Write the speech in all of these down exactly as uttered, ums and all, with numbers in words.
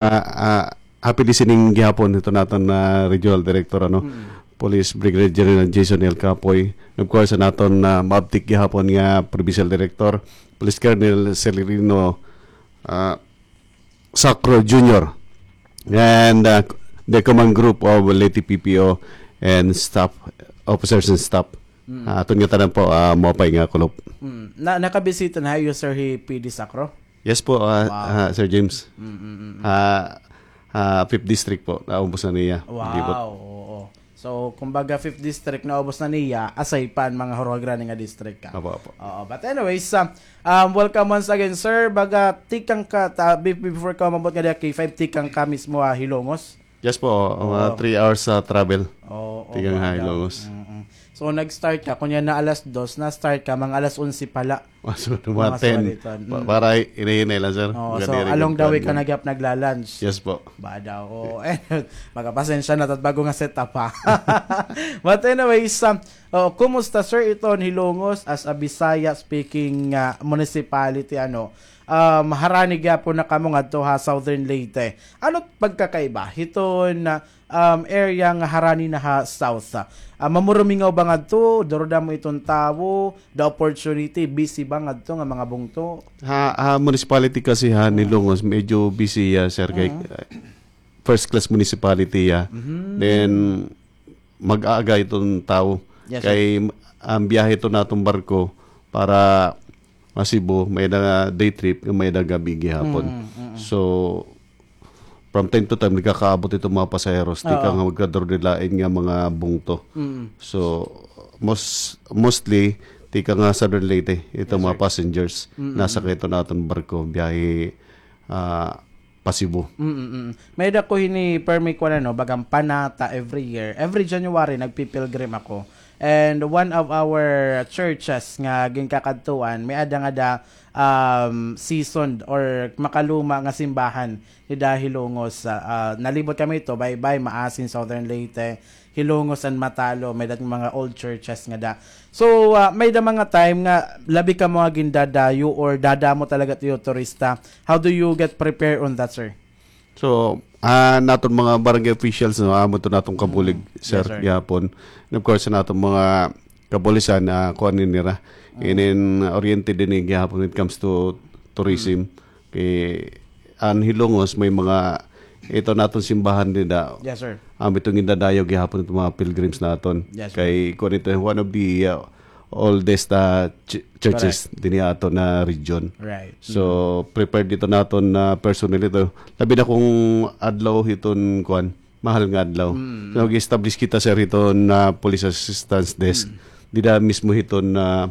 Ah, ah, happy listening gihapon ito naton, ah, regional director, ano, Police Brigadier General Jason L Capoy. And of course, an aton, ah, maabtik gihapon nga provincial director, Police Colonel Celerino, ah, Sacro Junior, and, ah, the command group of Leyte P P O and staff, officers and staff. Ah, aton nga tanan po, ah, maupay nga kulop. Mm. Na, nakabisita na ha iyo, sir, hi P D Sacro? Yes po, ah, ah, Sir James. Ah, ah, fifth District po, naubos na niya. Libot. Wow, oo. So, kumbaga, fifth District, naubos na niya, aside pa an mga huruhagrani nga district ka. Apo, apo. Oo, but anyways, ah, um, welcome once again, sir. Baga, tikang ka, ta, be-, before ka umabot nga diha K five, tikang ka mismo, ah, Hilongos? Yes po, mga three hours sa travel. Oo, tikang ha Hilongos. Mm-mm. So, nag-start ka, kunya na alas dos, na-start ka, mga alas onse pala. Mas mga ten. Pa-, para hinay-hinay lang, sir. Oo, so, along the way ka na gihap nagla-lunch. Yes po. Ba daw, oo. Eh, magpasensya na, tat bago nga setup, ha. But anyways, um, oh, kumusta, sir, iton Hilongos as a Bisaya speaking, ah, municipality, ano? Um, harani gyapon na kamo ngadto ha Southern Leyte. Ano pagkakaiba hiton, ah, um, area nga harani na ha South? Ah, mamurumingaw ba ngadto? Duro damo iton tawo, the opportunity, busy ba ngadto nga mga bungto? Ha, ha municipality kasi ha Hilongos, medyo busy ya, sir, kay, uh, first class municipality ya. Then, mag-aaga iton tawo. Yes, sir. Kay, ang biyahe iton naton barko para Cebu, may-ada day trip, may-ada gabi gihapon. So, from time to time, nagkakaabot iton mga pasaheros, tikang ha magkaduro-duro lain nga mga bungto. So, mos-, mostly, tikang ha Southern Leyte, iton mga passengers, nasakay iton naton barko, biyahe, ah, pa Cebu. Mm, mm. May-ada ko hini permi ko na, no, bagang panata every year. Every January, nagpipilgrim ako. And one of our churches nga ginkakadtuan, may-ada ngada, um, seasoned or makaluma nga simbahan dida Hilongos. Ah, ah, nalibot kami ito, Baybay, Maasin, Southern Leyte, Hilongos and Matalo, may-ada mga old churches ngada. So, ah, may-ada mga time nga labi kamo nga gindadayo or dadamo talaga it iyo turista. How do you get prepared on that, sir? So, ah, naton mga barangay officials, no, amo ito naton kabulig, sir, gihapon. And of course, naton mga kapulisan, ah, kuan ini nira. Inin oriented ini gihapon when it comes to tourism. Kay an Hilongos may mga, ito naton simbahan dida. Yes, sir. Amo ito gindadayo gihapon ito mga pilgrims naton. Yes, sir. Kay kuan ito, one of the, uh, oldest, uh, ch-, churches dinhi aton nga region. Right. So, prepared ito naton nga personnel ito. Labi na kon adlaw hiton kuan, mahal nga adlaw. So, nag-establish kita, sir, hiton, ah, police assistance desk. Dida mismo hiton, ah,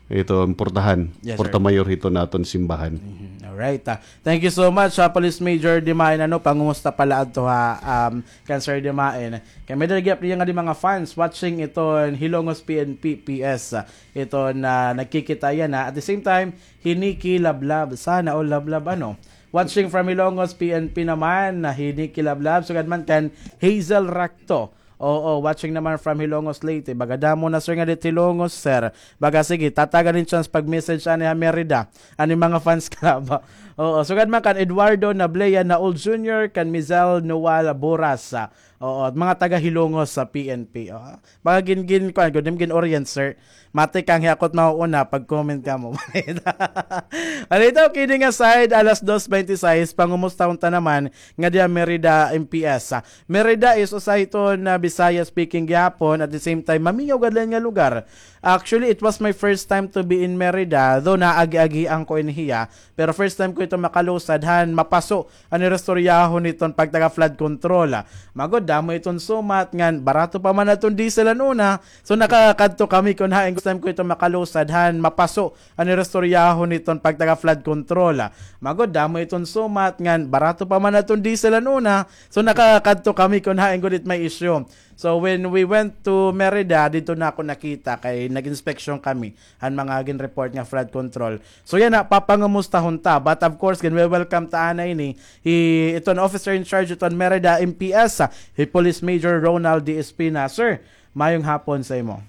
hiton portahan, Porta Mayor hiton naton simbahan. Alright, ah. Thank you so much, ah, Police Major Dimain. Ano, pangumusta pala adto ha, um, kan Sir Dimain. Kay may-ada gihap niya nga di mga fans watching iton Hilongos P N P P S, ah, iton nagkikita yana. At the same time, hi Nikki Lablab. Sana all Lablab, ano. Watching from Hilongos P N P naman, na hi Nikki Lablab. Sugad man kan Hazel Racto. Oo, watching naman from Hilongos, Leyte. Baga damo na, sir, nga didi Hilongos, sir. Baga sige, tatagan hin chance pag-message ani ha Merida, ani mga fans club. Oo, sugad man kan Eduardo Nablea na Old Junior, kan Mizel Noal Boras. Oo, at mga taga Hilongos sa P N P. Oo. Baga gin, gin, kuan, gud, gin-orient, sir. Matikang hi ako it mauuna, pag-comment kamo. Ano ito, kidding aside, alas dos bente sais, pangumusta unta naman nga diya Merida M P S. Merida is usa hiton Bisaya speaking gihapon, at the same time, mamingaw gad la nga lugar. Actually, it was my first time to be in Merida, though naagi-agian ko ini hiya, pero first time ko ito makalusad, han mapaso an istoryahon hiton pagtaga flood control. Magod, damo iton sumat ngan barato pa man aton diesel han una. So, nakakadto kami kon hain gusto ko ito makalusad han mapaso an istoryahon hiton pagtaga flood control. Magod, damo iton sumat ngan barato pa man aton diesel han una. So, nakakadto kami kon hain gud it may issue. So, when we went to Merida, didto na ako nakita kay nag-inspection kami han mga gin-report nga flood control. So yana, papangumustahon ta. But of course, gin-welcome ta anay ini hi iton officer in charge iton Merida M P S, ah, hi Police Major Ronald D Espina. Sir, mayong hapon sa imo.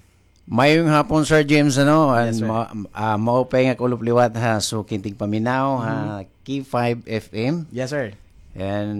Mayong hapon, Sir James, ano, and ma-, ah, maupay nga kulop liwat ha suking tigpaminaw ha K five F M. Yes, sir. And